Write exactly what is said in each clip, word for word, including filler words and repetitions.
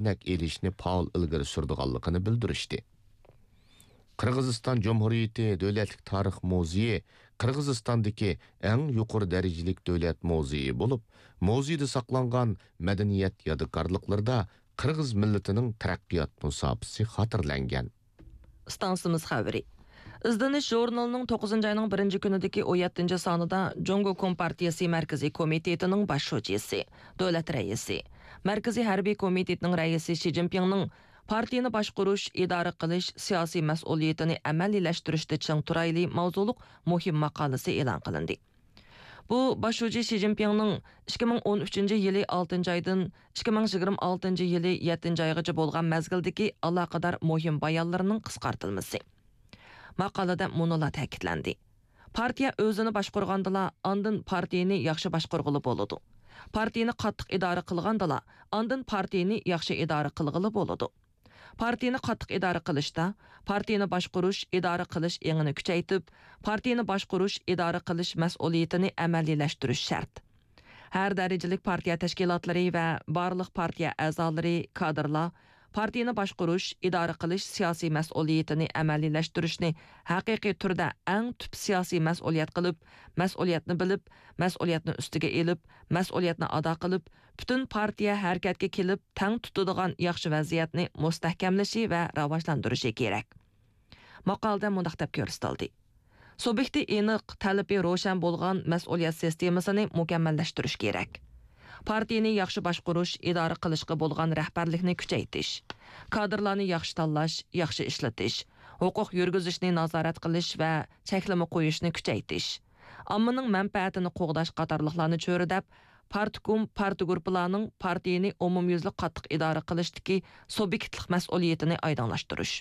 ئۆرنەك ئېلىشنى پائال ئىلگىرى سۈرىدىغانلىقىنى بىلدۈرۈشتى. قىرغىزىستان جۇمھۇرىيىتى دۆلەتلىك تارىخ مۇزېيى قىرغىزىستاندىكى ئەڭ يۇقىرى دەرىجىلىك دۆلەت مۇزېيى بولۇپ، مۇزېيدا ساقلانغان مەدەنىيەت يادىكارلىقلىرىدا قىرغىز مىللىتىنىڭ تەرەققىيات مۇساپىسى خاتىرىلەنگەن. ئىستانسىمىز خەۋىرى. ئىزدىنىش ژۇرنىلىنىڭ توققۇزىنچى ئاينىڭ بىرىنچى كۈنىدىكى ئون يەتتىنچى سانىدا جۇڭگو كومپارتىيىسى مەركىزىي كومىتېتىنىڭ باش شۇجىسى، دۆلەت رەئىسى، مەركىزىي ھەربىي كومىتېتنىڭ رەئىسى شى جىنپىڭنىڭ پارتىيىنى باشقۇرۇش، ئىدارە قىلىش، سىياسىي مەسئۇلىيىتىنى ئەمەلىيلەشتۈرۈشتە چىڭ تۇرايلى ماۋزۇلۇق مۇھىم ماقالىسى ئېلان قىلىندى. بۇ باش شۇجى شى جىنپىڭنىڭ ئىككى مىڭ ئون ئۈچىنچى يىلى ئالتىنچى ئايدىن ئىككى مىڭ يىگىرمە ئالتىنچى يىلى يەتتىنچى ئايغىچە بولغان مەزگىلدىكى ئالاقىدار مۇھىم بايانلىرىنىڭ قىسقارتىلمىسى. ماقالىدە مۇنۇلار تەكىتلەندى: پارتىيە ئۆزىنى باشقۇرغاندىلا، ئاندىن پارتىيىنى ياخشى باشقۇرغىلى بولىدۇ. پارتىيىنى قاتتىق ئىدارە قىلغاندىلا، ئاندىن پارتىيىنى ياخشى ئىدارە قىلغىلى بولىدۇ. پارتىيىنى قاتتىق ئىدارە قىلىشتا، پارتىيىنى باشقۇرۇش، ئىدارە قىلىش ئېڭىنى كۈچەيتىپ، پارتىيىنى باشقۇرۇش، ئىدارە قىلىش مەسئۇلىيىتىنى ئەمەلىيلەشتۈرۈش شەرت. ھەر دەرىجىلىك پارتىيە تەشكىلاتلىرى ۋە بارلىق پارتىيە ئەزالىرى، كادىرلار پارتىيىنى باشقۇرۇش، ئىدارە قىلىش سىياسىي مەسئۇلىيىتىنى ئەمەلىيلەشتۈرۈشنى ھەقىقىي تۈردە ئەڭ تۈپ سىياسىي مەسئۇلىيەت قىلىپ، مەسئۇلىيەتنى بىلىپ، مەسئۇلىيەتنى ئۈستىگە ئېلىپ، مەسئۇلىيەتنى ئادا قىلىپ، پۈتۈن پارتىيە ھەرىكەتكە كېلىپ، تەڭ تۇتىدىغان ياخشى ۋەزىيەتنى مۇستەھكەملىشى ۋە راۋاجلاندۇرۇشى كېرەك. ماقالىدە مۇنداق دەپ كۆرسىتىلدى: سۇبيېكتى ئېنىق، تەلىپى روشەن بولغان مەسئۇلىيەت سىستېمىسىنى مۇكەممەللەشتۈرۈش كېرەك. پارتىيىنى ياخشى باشقۇرۇش، ئىدارە قىلىشقا بولغان رەھبەرلىكنى كۈچەيتىش، كادىرلارنى ياخشى تاللاش، ياخشى ئىشلىتىش، ھوقۇق يۈرگۈزۈشنى نازارەت قىلىش ۋە چەكلىمە قويۇشنى كۈچەيتىش، ئاممىنىڭ مەنپەئەتىنى قوغداش قاتارلىقلارنى چۆرىدەپ، پارتكوم، پارتگۇرۇپپىلارنىڭ پارتىيىنى ئومۇميۈزلۈك قاتتىق ئىدارە قىلىشتىكى سۇبيېكتلىق مەسئۇلىيىتىنى ئايدىڭلاشتۇرۇش،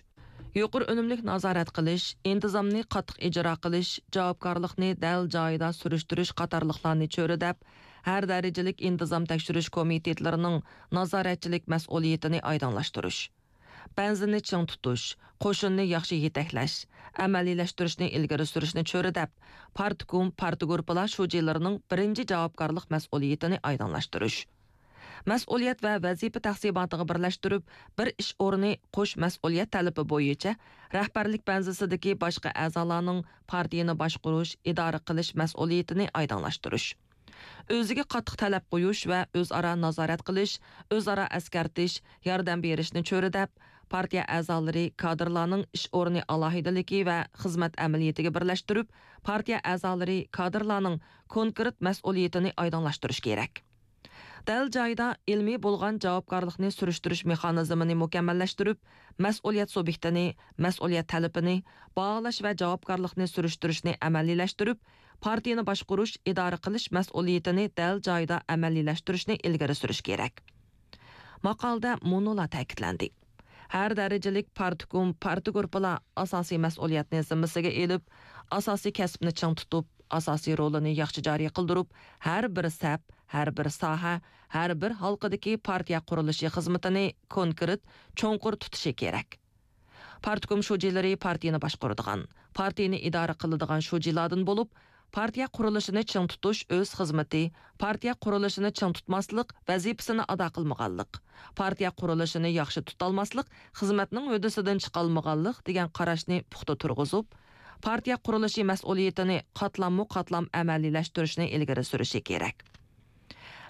يۇقىرى ئۈنۈملۈك نازارەت قىلىش، ئىنتىزامنى قاتتىق ئىجرا قىلىش، جاۋابكارلىقنى دەل جايىدا سۈرۈشتۈرۈش قاتارلىقلارنى چۆرىدەپ، ھەر دەرىجىلىك ئىنتىزام تەكشۈرۈش كومىتېتلىرىنىڭ نازارەتچىلىك مەسئۇلىيىتىنى ئايدىڭلاشتۇرۇش، بەنزىننى چىڭ تۇتۇش، قوشۇننى ياخشى يېتەكلەش، ئەمەلىيلەشتۈرۈشنى ئىلگىرى سۈرۈشنى چۆرىدەپ، پارتكوم، پارتگۇرۇپپىلار شۇجىلىرىنىڭ بىرىنچى جاۋابكارلىق مەسئۇلىيىتىنى ئايدىڭلاشتۇرۇش، مەسئۇلىيەت ۋە ۋەزىپە تەقسىماتىغا بىرلەشتۈرۈپ، بىر ئىش ئورنى، قوش مەسئۇلىيەت تەلىپى بويىچە رەھبەرلىك بەنزىسىدىكى باشقا ئەزالارنىڭ پارتىيىنى باشقۇرۇش، ئىدارە قىلىش مەسئۇلىيىتىنى ئايدىڭلاشتۇرۇش. ئۆزىگە قاتتىق تەلەپ قويۇش ۋە ئۆزئارا نازارەت قىلىش، ئۆزئارا ئەسكەرتىش، ياردەم بېرىشنى چۆرىدەپ، پارتىيە ئەزالىرى، كادىرلارنىڭ ئىش ئورنى ئالاھىدىلىكى ۋە خىزمەت ئەمەلىيىتىگە بىرلەشتۈرۈپ، پارتىيە ئەزالىرى، كادىرلارنىڭ كونكرېت مەسئۇلىيىتىنى ئايدىڭلاشتۇرۇش كېرەك. دەل جايىدا ئىلمىي بولغان جاۋابكارلىقنى سۈرۈشتۈرۈش مېخانىزمىنى مۇكەممەللەشتۈرۈپ، مەسئۇلىيەت سۇبيېكتىنى، مەسئۇلىيەت تەلىپىنى، باھالاش ۋە جاۋابكارلىقنى سۈرۈشتۈرۈشنى ئەمەلىيلەشتۈرۈپ، پارتىيىنى باشقۇرۇش، ئىدارە قىلىش مەسئۇلىيىتىنى دەل جايىدا ئەمەلىيلەشتۈرۈشنى ئىلگىرى سۈرۈش كېرەك. ماقالىدە مۇنۇلار تەكىتلەندى: ھەر دەرىجىلىك پارتكوم، پارتگۇرۇپپىلار ئاساسىي مەسئۇلىيەتنى زىممىسىگە ئېلىپ، ئاساسىي كەسىپنى چىڭ تۇتۇپ، ئاساسىي رولىنى ياخشى جارى قىلدۇرۇپ، ھەر بىر سەپ، ھەر بىر ساھە، ھەر بىر ھالقىدىكى پارتىيە قۇرۇلۇشى خىزمىتىنى كونكرېت، چوڭقۇر تۇتۇشى كېرەك. پارتكوم شۇجىلىرى پارتىيىنى باشقۇرىدىغان، پارتىيىنى ئىدارە قىلىدىغان شۇجىلاردىن بولۇپ، پارتىيە قۇرۇلۇشىنى چىڭ تۇتۇش ئۆز خىزمىتى، پارتىيە قۇرۇلۇشىنى چىڭ تۇتماسلىق ۋەزىپىسىنى ئادا قىلمىغانلىق، پارتىيە قۇرۇلۇشىنى ياخشى تۇتالماسلىق خىزمەتنىڭ ھۆددىسىدىن چىقالمىغانلىق دېگەن قاراشنى پۇختا تۇرغۇزۇپ، پارتىيە قۇرۇلۇشى مەسئۇلىيىتىنى قاتلاممۇ قاتلام ئەمەلىيلەشتۈرۈشنى ئىلگىرى سۈرۈشى كېرەك.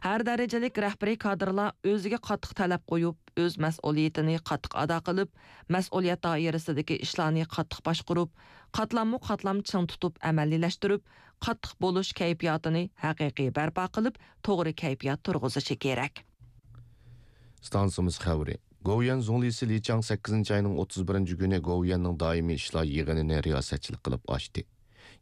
ھەر دەرىجىلىك رەھبىرىي كادىرلار ئۆزىگە قاتتىق تەلەپ قويۇپ، ئۆز مەسئۇلىيىتىنى قاتتىق ئادا قىلىپ، مەسئۇلىيەت دائىرىسىدىكى ئىشلارنى قاتتىق باشقۇرۇپ، قاتلاممۇ قاتلام چىڭ تۇتۇپ ئەمەلىيلەشتۈرۈپ، قاتتىق بولۇش كەيپىياتىنى ھەقىقىي بەرپا قىلىپ، توغرا كەيپىيات تۇرغۇزۇشى كېرەك. ئىستانسىمىز خەۋىرى. گوۋۇيۈەن زۇڭلىسى لى چاڭ سەككىزىنچى ئاينىڭ ئوتتۇز بىرىنچى كۈنى گوۋۇيۈەننىڭ دائىمىي ئىشلار يىغىنىنى رىياسەتچىلىك قىلىپ ئاچتى.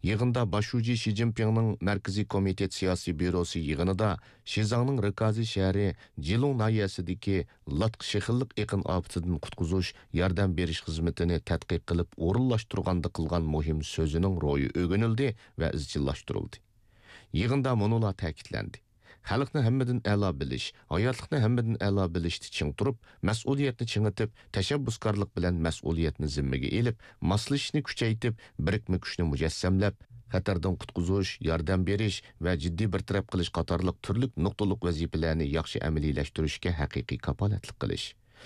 يىغىندا باش شۇجى شى جىنپىڭنىڭ مەركىزىي كومىتېت سىياسىي بيۇروسى يىغىنىدا شىزاڭنىڭ رىكازى شەھىرى جىلۇڭ ناھىيەسىدىكى لاتقا شېخىللىق ئېقىن ئاپىتىدىن قۇتقۇزۇش ياردەم بېرىش خىزمىتىنى تەتقىق قىلىپ ئورۇنلاشتۇرغاندا قىلغان مۇھىم سۆزىنىڭ روھى ئۆگىنىلدى ۋە ئىزچىللاشتۇرۇلدى. يىغىندا مۇنۇلار تەكىتلەندى: خەلقنى ھەممىدىن ئەلا بىلىش، ھاياتلىقنى ھەممىدىن ئەلا بىلىشتە چىڭ تۇرۇپ، مەسئۇلىيەتنى چىڭىتىپ، تەشەببۇسكارلىق بىلەن مەسئۇلىيەتنى زىممىگە ئېلىپ، ماسلىشىشنى كۈچەيتىپ، بىرىكمە كۈچنى مۇجەسسەملەپ، خەتەردىن قۇتقۇزۇش، ياردەم بېرىش ۋە جىددىي بىر تەرەپ قىلىش قاتارلىق تۈرلۈك نۇقتىلىق ۋەزىپىلەرنى ياخشى ئەمەلىيلەشتۈرۈشكە ھەقىقىي كاپالەتلىك قىلىش.